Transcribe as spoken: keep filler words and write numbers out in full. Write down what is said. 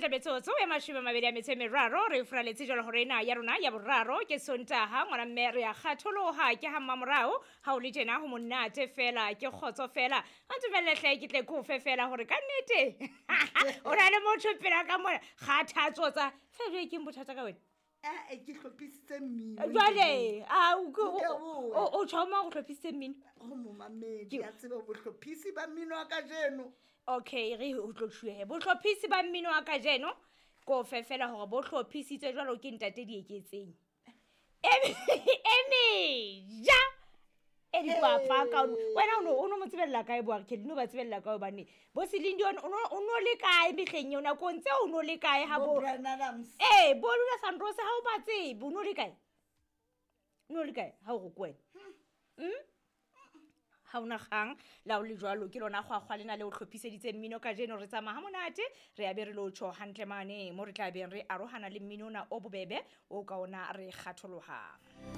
Hantle metsotso e mashome a mabedi a metso e meraro re furaletse jalo hore ena ya rona ya boraro ke Sontaha, ngwana mme re a kgatholoha ke ha mmamorao. Ha o le tjena ho monate fela, ke kgotso fela. A ntumelle hle ke tle ke o fe fela hore ka nnete o na le motho pela ka mona. Kgathatso tsa fe ke bothata ka wena. Ee, ke hlophisitse mmino. Jwale a o Nke boe. o tjho mang o hlophisitse mmino? Go momamedi a tsebe bohlophisi ba mmino wa kajeno. Okay, re o tlo tjhuehe bohlophisi ba mmino wa kajeno ko fe fela hore bo hlophisitswe jwalo ke ntate Dieketseng. E meja e dikwapa ka wena o no o no mo tsebella kae bo re no ba tsebella kae hobane bo Celine Dion o no o no le kae mehleng eo nakong tseo o no le kae ha Bo bo Bryan Adams. Eh, bo Lula Sandros ha o ba tsebe, o no le kae? O no le kae ha o re ke wena? Mm? Ha ona kgang la o le jwalo ke lona kgwakgwa lena le o hlophiseditse mmino kajeno. Re tsamaya ha monate, re ya be re lo tjho hantle mane mo re tla beng re arohana le mmino ona o bobebe o ka ona re kgatholohang.